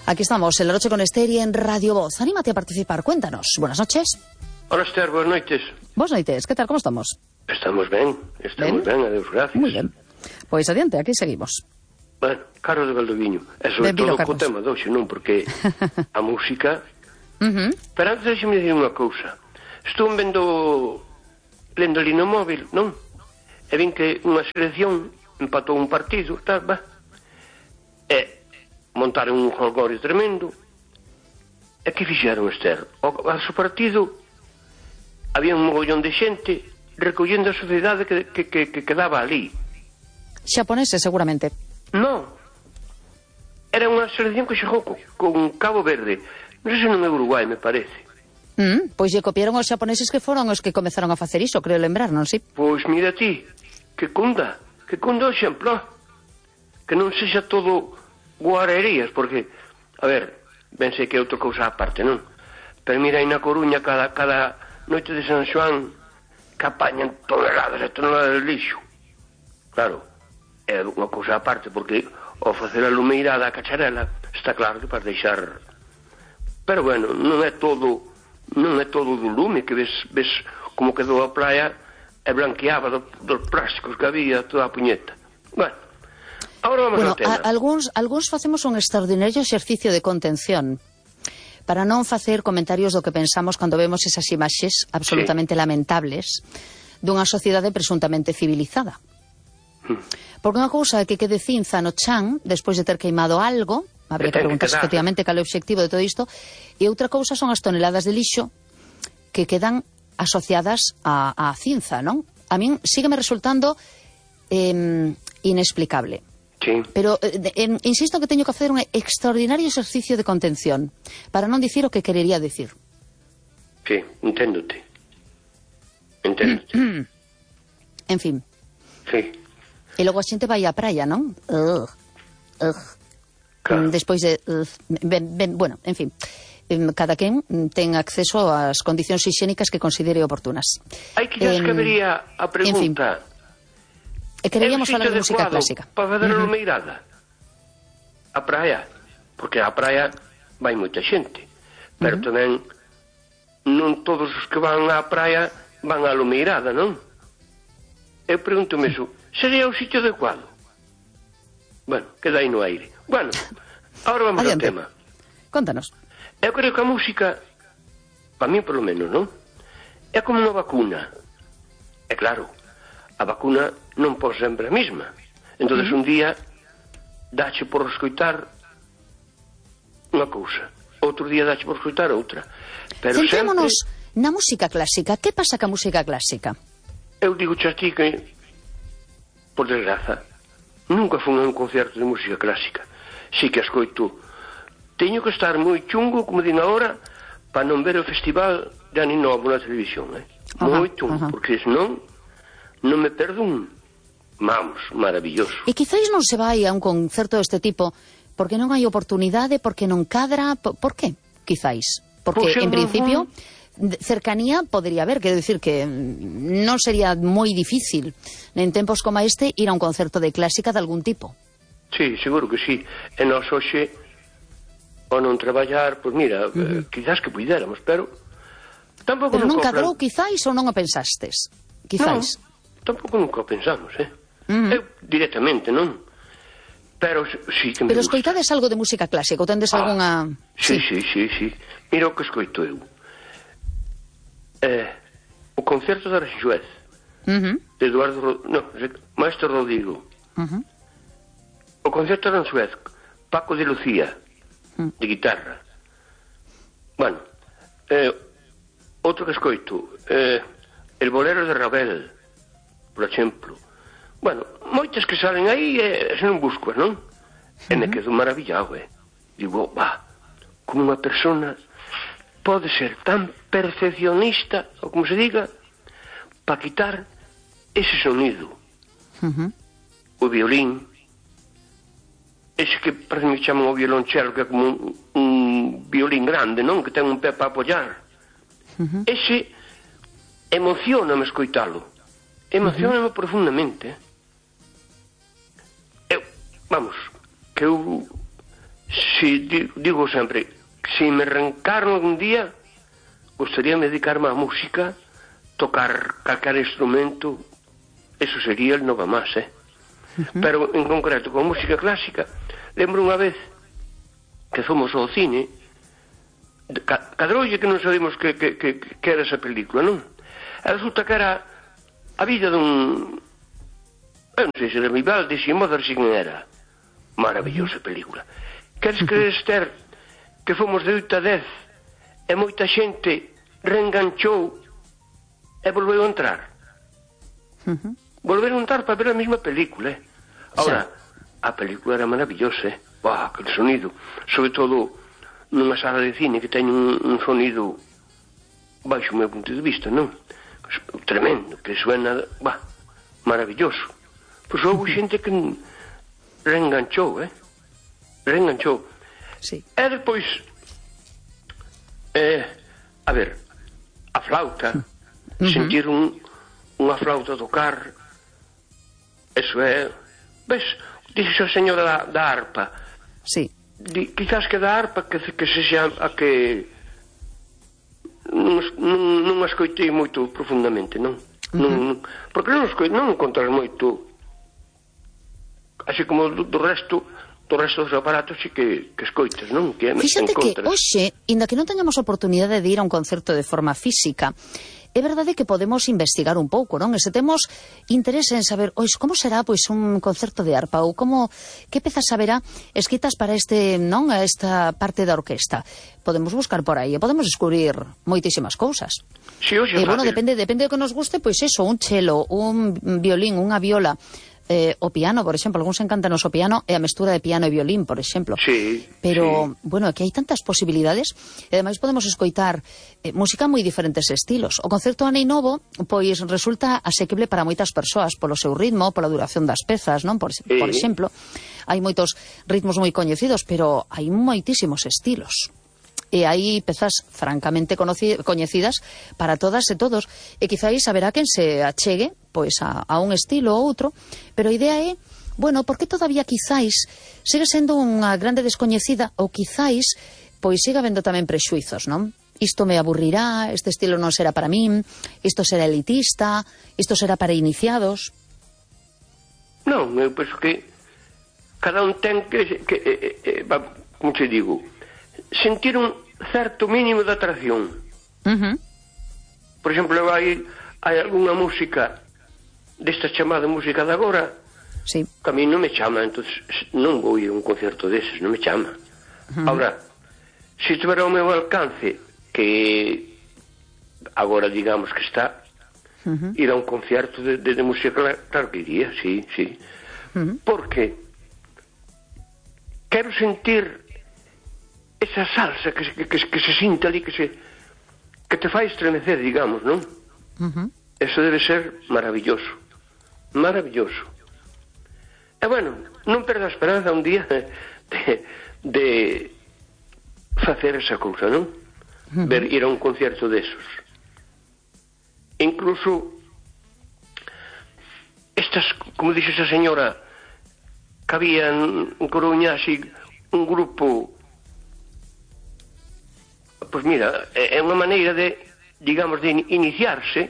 Aquí estamos, el Oroche con Ester y en Radio Voz. Anímate a participar, cuéntanos. Buenas noches. Hola, Ester, buenas noites. Boas noites, que tal, como estamos? Estamos ben, adeus, gracias. Moi ben. Pois adiante, aquí seguimos. Bueno, Carlos de Valdoviño. E sobre Benvido, todo co Carlos. tema de hoxe, non? Porque a música... Pero antes deixe-me dicir unha cousa. Estou lendo ali no móvil, non? E vin que unha selección empatou un partido, tal, va. E montaron un jolgorio tremendo. E que fixeron, Ester? Ao seu partido había un mogollón de xente recollendo a sociedade que quedaba ali. Xaponeses, seguramente. Non. Era unha selección que xogou con Cabo Verde. Non sei se non é Uruguai, me parece. Pois lle copiaron os xaponeses que foron os que comezaron a facer iso, creo lembrar, non si? Pois mira ti, que cunda o exemplo. Que non sexa todo guarerías, porque, a ver, ben sei que é outra cousa aparte, non? Pero mira, aí na Coruña, cada noite de San Xoán, que apañan toneladas e toneladas de lixo. Claro, é unha cousa aparte, porque ao facer a lumeirada a cacharela, está claro que para deixar... Pero bueno, non é todo do lume, que ves como quedou a praia e blanqueaba dos plásticos que había toda a puñeta. Bueno, agora vamos ao tema. Algúns facemos un extraordinario exercicio de contención para non facer comentarios do que pensamos cando vemos esas imaxes absolutamente lamentables dunha sociedade presuntamente civilizada. Porque unha cousa é que quede cinza no chan despois de ter queimado algo, habría que preguntarse efectivamente cal é o obxectivo de todo isto, e outra cousa son as toneladas de lixo que quedan asociadas á cinza, non? A min sígueme resultando inexplicable. Sí. Pero insisto que teño que facer un extraordinario exercicio de contención para non dicir o que querería dicir. Sí, enténdote. En fin. Sí. E logo a xente vai á praia, non? Claro. Despois de... bueno, en fin. Cada quen ten acceso ás condicións higiénicas que considere oportunas. Hai que que habería a pregunta... E queríamos falar de música clásica. Para fazer a lumeirada? A praia. Porque a praia vai moita xente. Pero tamén non todos os que van á praia van á lumeirada, non? Eu pregúntome iso. Sería o sitio adecuado? Bueno, queda aí no aire. Bueno, agora vamos ao tema. Contanos. Eu creo que a música, para mí polo menos, non? É como unha vacuna. É claro, a vacuna non pode sempre a mesma. Entonces un día dache por escoitar unha cousa, outro día dache por escoitar outra. Pero centrémonos sempre... na música clásica. Que pasa ca música clásica? Eu digo a ti que, por desgraza, nunca fui a un concerto de música clásica. Si que a escoito. Teño que estar moi chungo, como din agora, para non ver o festival de Ani Novo na televisión, moi chungo, porque senón non me perdo un... Vamos, maravilloso. E quizáis non se vai a un concerto deste tipo porque non hai oportunidade, porque non cadra... Por que, quizáis? Porque, en principio, cercanía podría haber, quero dicir que non sería moi difícil en tempos como este ir a un concerto de clásica de algún tipo. Sí, seguro que sí. E nós hoxe, ao non traballar, pois mira, quizás que puidéramos, pero tampouco pero non nunca... cadrou, quizáis, ou non o pensastes? Quizáis. Non, tampouco nunca o pensamos, Eu directamente, non? Pero sí que me pero gusta. escoitades algo de música clásica, ou tendes algunha... Sí. Mira o que escoito eu. O concerto de Aranjuez, de Maestro Rodrigo. O concerto de Aranjuez, Paco de Lucía, de guitarra. Bueno, outro que escoito, el bolero de Ravel, por exemplo. Bueno, moitas que salen aí se non busco, non? E me quedo maravillado, Digo, como unha persona pode ser tan perfeccionista, ou como se diga, para quitar ese sonido. O violín, ese que parece que chaman o violonchelo, que é como un violín grande, non? Que ten un pé para apoiar. Ese emocioname escoitalo. Emocioname profundamente. Vamos, que eu si digo sempre, si me reencarno algún día, gustaría dedicarme á música, tocar calquer instrumento, eso sería el nova más, Pero en concreto con música clásica, lembro unha vez que fomos ao cine, cadroulle que non sabemos que era esa película, non? E resulta que era a vida dun, eu non sei se era Vivaldi, se Mozart, se quen era. Maravillosa película. Queres creer, Esther, que fomos de 8 a 10 e moita xente reenganchou e volveu a entrar? Volveron a entrar para ver a mesma película, Ahora, a película era maravillosa, aquel sonido, sobre todo nunha sala de cine que ten un sonido baixo o meu punto de vista, non? Tremendo, que suena, maravilloso. Pois houve xente que reenganchou, reenganchou. Sí. E depois, a ver, a flauta, sentir unha flauta tocar, eso ves, dixo a señora da arpa. Sí. Quizás que da arpa que sexa a que non a escoitei moito profundamente, non? Porque non encontras moito, así como do resto dos aparatos sí que escoitas, non? Fíxate que hoxe, inda que non teñamos oportunidade de ir a un concerto de forma física, é verdade que podemos investigar un pouco, non? E se temos interese en saber, como será pois un concerto de arpa ou que pezas haberá escritas para esta parte da orquesta. Podemos buscar por aí e podemos descubrir moitísimas cousas. Sí, hoxe é fácil. Depende do que nos guste, pois eso, un chelo, un violín, unha viola, o piano, por exemplo, algúns encántanos o piano e a mestura de piano e violín, por exemplo. Sí. Pero, bueno, que hai tantas posibilidades e ademais podemos escoitar música moi diferentes estilos. O concerto Anei Novo, pois, resulta asequible para moitas persoas polo seu ritmo, pola duración das pezas, non? Por exemplo, hai moitos ritmos moi coñecidos, pero hai moitísimos estilos. E hai pezas francamente coñecidas para todas e todos, e quizáis haberá quen se achegue pois a un estilo ou outro, pero a idea é, por que todavía quizáis sigue sendo unha grande descoñecida, ou quizáis pois siga habendo tamén prexuizos, non? Isto me aburrirá, este estilo non será para min, isto será elitista, isto será para iniciados. Non, eu penso que cada un ten que como te digo, sentir un certo mínimo de atracción. Por exemplo, hai algunha música desta chamada música de agora, sí, que a mí non me chama, entón non vou ir a un concerto deses, non me chama. Ahora, se tuvera o meu alcance, que agora digamos que está, ir a un concerto de música, claro que iría, sí. Porque quero sentir esa salsa que se sinta ali, que te fai estremecer, digamos, non? Eso debe ser maravilloso. Maravilloso. E non perda a esperanza un día de facer esa cousa, non? Ir a un concierto desos. Incluso estas, como dixe esa señora, que había en Coruña así un grupo, pois mira, é unha maneira de, digamos, de iniciarse.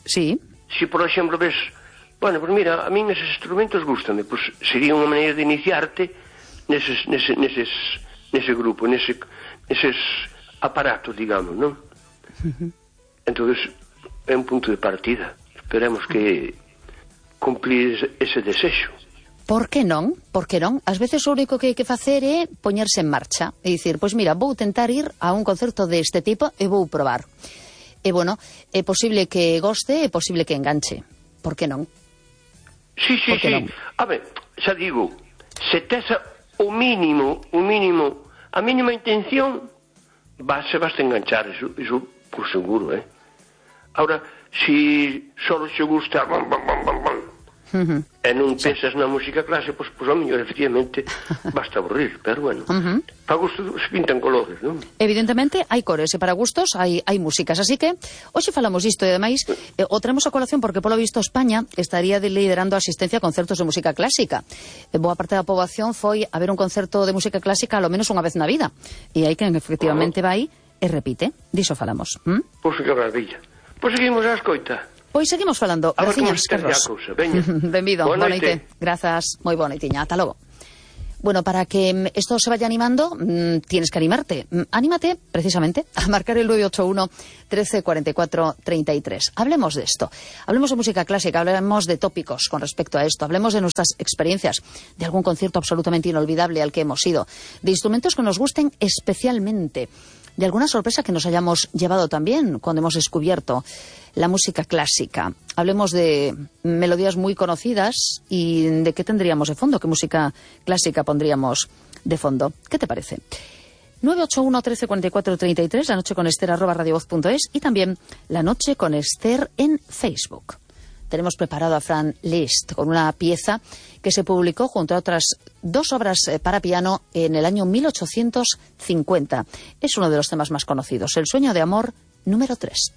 Sí. Se, por exemplo, ves, pois mira, a min eses instrumentos gústame, pois sería unha maneira de iniciarte nese grupo, neses aparatos, digamos, non? Entonces, é un punto de partida. Esperemos que cumplir ese desexo. Por que non? Por que non? Ás veces o único que hai que facer é poñerse en marcha e dicir, pois mira, vou tentar ir a un concerto deste tipo e vou probar. E é posible que goste, é posible que enganche. Por que non? Sí. A ver, xa digo, se tes o mínimo, a mínima intención, vas a enganchar, iso por seguro, Ahora, se só se gusta, e non pensas na música clásica, pois ao mellor, efectivamente, basta aburrir, pero bueno, para gusto se pintan colores, non? Evidentemente, hai cores, e para gustos hai músicas, así que hoxe falamos isto, e ademais o traemos a colación porque, polo visto, España estaría liderando a asistencia a concertos de música clásica. Boa parte da poboación foi a ver un concerto de música clásica ao menos unha vez na vida, e hai quen efectivamente vai e repite, diso falamos. Pois que maravilla. Pois seguimos a escoita. Pois seguimos falando. Graciñas, Carlos. Benvido, boa noite. Grazas, moi boa noitiña, ata logo. Bueno, para que esto se vaya animando, tienes que animarte. Anímate, precisamente, a marcar el 981 13 44 33. Hablemos de esto. Hablemos de música clásica, hablemos de tópicos con respecto a esto, hablemos de nuestras experiencias, de algún concierto absolutamente inolvidable al que hemos ido, de instrumentos que nos gusten especialmente, de alguna sorpresa que nos hayamos llevado también cuando hemos descubierto la música clásica. Hablemos de melodías muy conocidas y de qué tendríamos de fondo, qué música clásica pondríamos de fondo. ¿Qué te parece? 981 13 44 33, la noche con Esther @radiovoz.es y también la noche con Esther en Facebook. Tenemos preparado a Franz Liszt con una pieza que se publicó junto a otras 2 obras para piano en el año 1850. Es uno de los temas más conocidos, El sueño de amor número 3.